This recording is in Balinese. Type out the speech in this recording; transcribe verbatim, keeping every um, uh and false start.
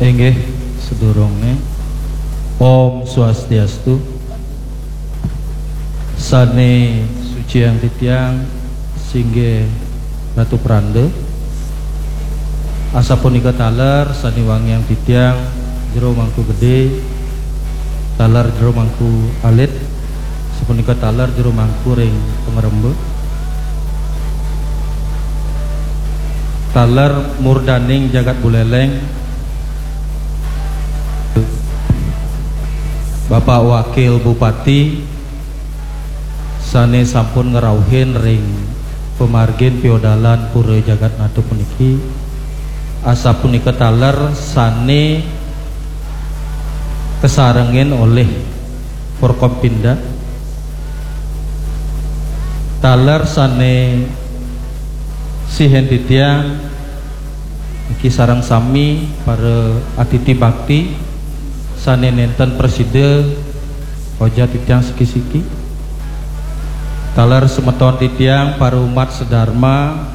Inggih, sedurunge. Om Swastiastu. Sane suciang titiang singgih Ratu Pranda. Asapunika taler sane wangiang titiang Jero Mangku Gede, taler Jero Mangku Alit, sapunika taler Jero Mangku ring Pangremba. Taler murdaning jagat Buleleng, Bapak Wakil Bupati sane sampun ngrauhin ring pamargin piodalan Pura Jagat Nata puniki, asapunika taler sane kasarengin olih Forkompinda, taler sane sihin titiang niki sareng sami para atiti bakti sane nenten prasida oja titiang siki-siki. Taler semeton titiang para umat sedharma